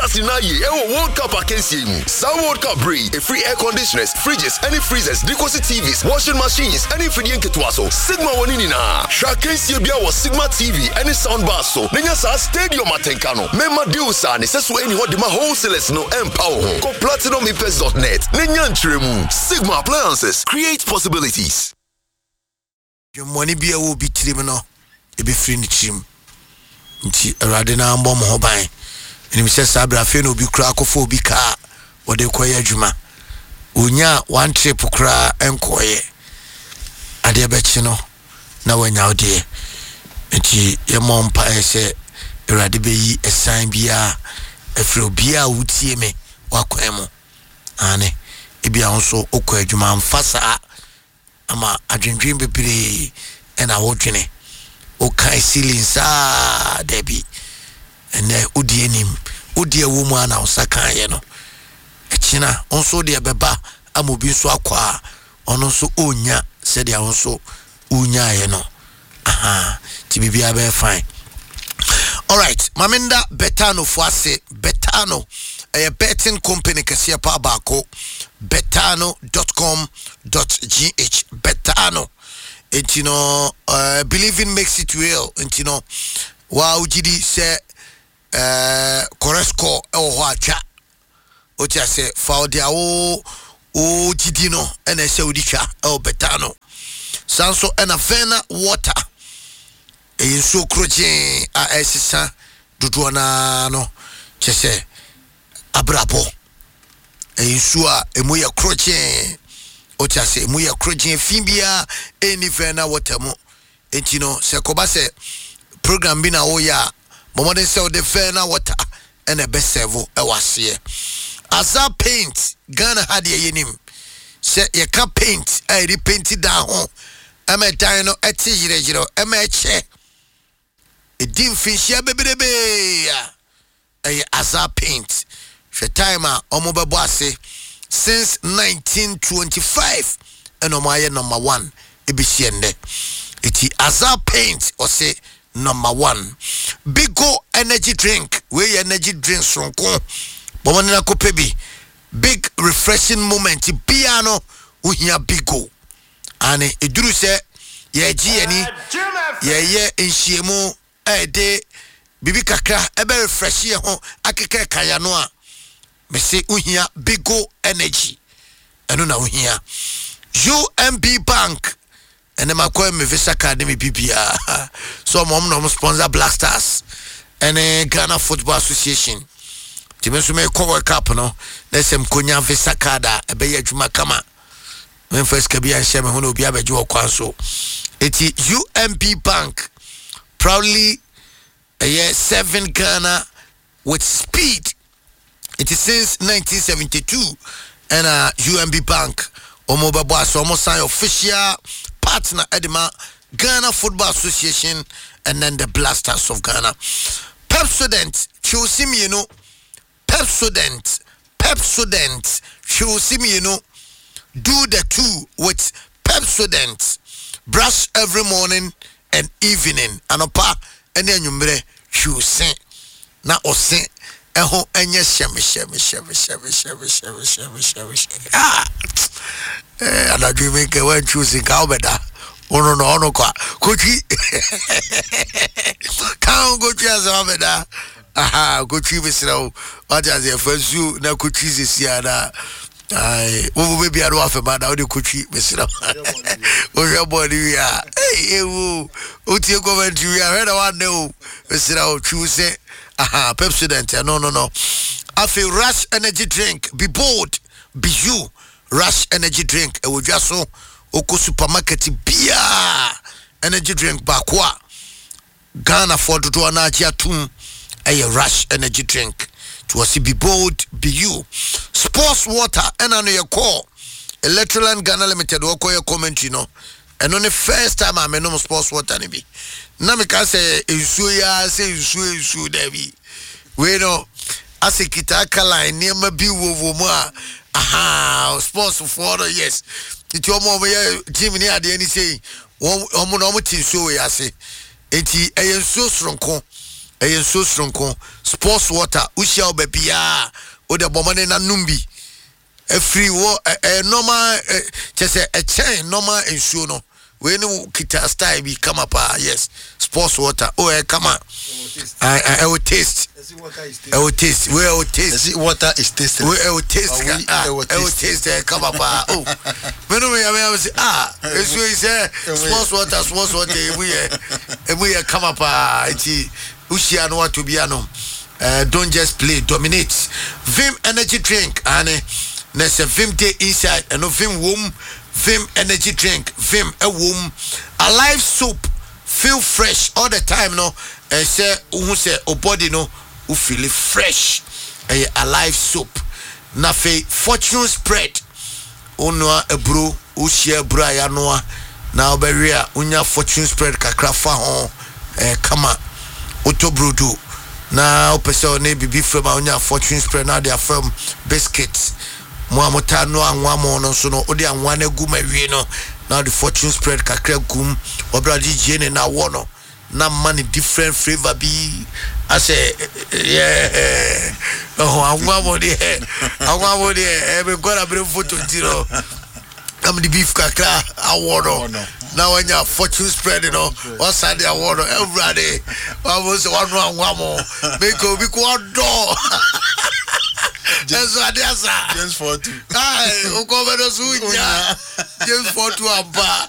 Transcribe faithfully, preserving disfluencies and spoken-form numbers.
Stars nyinaa yie ɛwɔ World Cup akansie mu. Saa World Cup bere yi, ɛfiri air conditioners, fridges ɛne freezers de kɔsi T Vs, washing machines ɛne mfidie nketewa so, Sigma wɔ ne nyinaa. Hwɛ akansie bia wɔ Sigma T V ɛne soundbar so na nya saa stadium atenka no. Mɛma deals a ne sɛ so ɛni hɔ de ma wholesalers no ɛmpa wo ho. Kɔ platinum impest dot net na nya nkyerɛmu. Sigma Appliances, create possibilities. Dwemmɔne bi a ɛwɔ obi tirim no, ɛbɛfiri ne tirim. Nti Awurade na mbɔ mo ho ban. Ɛnim sɛ saa berɛ afei na obi koraa akɔfa obi kaa wɔde kɔyɛ adwuma, onya one trip koraa nkɔɔyɛ, adeɛ bɛkye no na wanya wo deɛ. Nti yɛmmɔ mpaeɛ sɛ Awurade bɛyi ɛsan biara ɛfiri obiara a wotie me wakwan mu ane. Ebia wo nso wokɔ adwuma mfa saa ama adwendwen bebree ɛna wodwene wokae ceiling saa. Dabi, ɛnɛ wodi anim, wodi ɛwɔ mu a na wo nsa kaeɛ no, ɛkyina wo nso deɛ bɛba ama obi nso akɔ a ɔno nso ɔnya sɛdeɛ wo nso wonyaeɛ no. Aha, nti biribiara bɛyɛ fine. Alright, maame nda Betano fo ase. Betano ɛyɛ betting company kɛseɛ paa baako, betano dot com dot G H. Betano nti no, uh, believing makes it real. Nti no waa wogye di sɛ uh, correct score ɛwɔ hɔ atwa wote ase fa wode a wo wogyidi no ɛna ɛsɛ wode twa ɛwɔ Betano. Saa nso ɛna Vena Water ɛyɛ nsuo korɔgyee a ɛsesa dodoɔ naa no, kyɛ sɛ abrabɔ ɛyɛ nsuo a ɛmu yɛ korɔgyee, wote ase, ɛmu yɛ korɔgyee, fi biara ɛnni Vena Water mu. Enti no sɛ kɔba sɛ program bi na woyɛ a, bɔmmɔden sɛ wode Vena Water ɛna ɛbɛsɛvo ɛwɔ aseɛ. Asa Paint, Ghana ha deɛ yɛnim sɛ yɛka paint a yɛde paint dan ho ɛma dan no ɛte yerɛyerɛ, ɛma ɛkyɛ, ɛdi mfinhyia bebrebee a, ɛyɛ Asa Paint. Hwɛ time a ɔmo bɛbɔ ase, since nineteen twenty-five ɛna ɔmo ayɛ number one ebesi ɛnnɛ. Eti Asa Paint ɔse number one. Bigo energy drink, wei yɛ energy drink soronko, bɔn ne akɔpɛ bi. Big refreshing moment biara no, wohia Bigo ane. Eduru sɛ yɛgye yɛni, yɛyɛ nhyiamu a ɛde biribi kakra ɛbɛ refresh yɛ ho akeka ɛka no a, mese wohia Bigo Energy, ɛno na wohia. U M B Bank, ɛnɛ makɔ me Visa card ne me bibiaa so. Ɔmo ɔmo na ɔmo sponsor Black Stars ɛne Ghana Football Association. Nti me nso mekɔ World Cup no na sɛ mkonya Visa card a ɛbɛyɛ adwuma kama, memfa sika bi anhyɛ me ho na obi abɛgye wɔ kwan so. Eti U M B Bank proudly ɛyɛ serving Ghana with speed. It since nineteen seventy-two ɛna U M B Bank wɔn bɛbɔ ase. Wɔn sign official partner ɛde ma Ghana Football Association and then the Black Stars of Ghana. Pepsodent twewsi mmienu, Pepsodent, Pepsodent twewsi mmienu. Do the two with Pepsodent. Brush every morning and evening, anɔpa ɛne anwummerɛ. Twewsi na ɔse ɛho ɛnyɛ hyɛm hyɛm hyɛm hyɛm hyɛm hyɛm hyɛm hyɛm hyɛm. Ah, ɛɛ anadwo mi nkɛ wɔntwi si nka ɔbɛda ɔno no ɔno kɔ a kotwi kan kotwi asɛm abɛda. Aha, kotwi, mesrɛ wo, wate aseɛ, fa nsuo na kotwi sesi a na wobo bɛbia no wafɛma na wode kotwi. Mesrɛ wo, wohwɛ bɔɔl no wie a, ɛwu wotie commentary wie a, hwɛ na woannɛ o. Mesrɛ wo, twiw sɛ aha Pepsodent ɛno no no Afei Rush Energy Drink, be bold, be you. Rush Energy Drink ɛwɔ dwa so, wokɔ supermarket biaa. Energy drink baako a Ghanafoɔ dodoɔ no agye atom ɛyɛ Rush Energy Drink. Nti wɔse be bold, be you. Sports Water, ɛna no yɛkɔɔ Electroland Ghana Limited wɔkɔyɛ commentary no, ɛno ne first time a menom Sports Water no bi na meka sɛ nsuo yi ara sɛ nsuo nsuo. Daabi, wei no asɛ kita alkaline nneɛma bi wɔ wɔ mu a, aha, sportsfoɔ no, yes. Nti wɔn a wɔyɛ gym ne adeɛ ne sei, wɔn wɔn na wɔn te nsuo wɔ yi ase. Nti ɛyɛ nsuo soronko. Ɛyɛ nsuo soronko, Sports Water. Wohyia wo baabiaa, wode bɔ mmɔden na nom bi. Ɛfiri wɔ ɛyɛ normal, ɛ kyɛ sɛ ɛkyɛn normal nsuo no. Wei ne wo kita style bi kama paa. Yes, Sports Water o, ɛyɛ kama. Ɛwɔ taste, ɛwɔ taste. Wei ɛwɔ taste. Ɛsi water is tasteless. Wei ɛwɔ taste ka, ah, ɛwɔ taste, ɛyɛ kama paa o. Mɛnu mi yàrá yàrá sɛ, ah, esuo yi sɛ Sports Water, Sports Water emu yɛ emu yɛ kama paa. Eti wuhyia no, wato bi anom. uh, don't just play, dominate. Vim Energy Drink ane na sɛ Vim dey inside, ɛno Vim wom. Vim Energy Drink, Vim ɛwom. Alive Soap, feel fresh all the time no. Ɛsɛ wohu sɛ o body no wo feel fresh, ɛyɛ Alive Soap. Na afei Fortune Spread, wonoa aburo, wohyia aburo a yɛanoa na wobɛwe a, wonya Fortune Spread kakra fa ho, ɛɛ kama. Wotɔ brodo na wopɛ sɛ ɔne biribi fam a, wonya Fortune Spread na wode afam. Biscuit mo a motaa no, anwa mo no nso no, wode anwa no agu ma awie no, na wode Fortune Spread kakra gum. Wɔbrɛ wode gyie ne na wɔ no na ma ne different flavour bi asɛ yɛ ɛho. Anwa mo deɛ, anwa mo deɛ, ɛbɛ nkɔla bere foto nti no, na mede beef kakra awɔ no na wanya Fortune Spread no, wasa de awɔ no. Awurade, wabo sɛ wano anwa mo meka obi ko ɔdɔ ɛnso ade asa. James four two. Wokɔ bɛdɔ so wonya James four two ampa.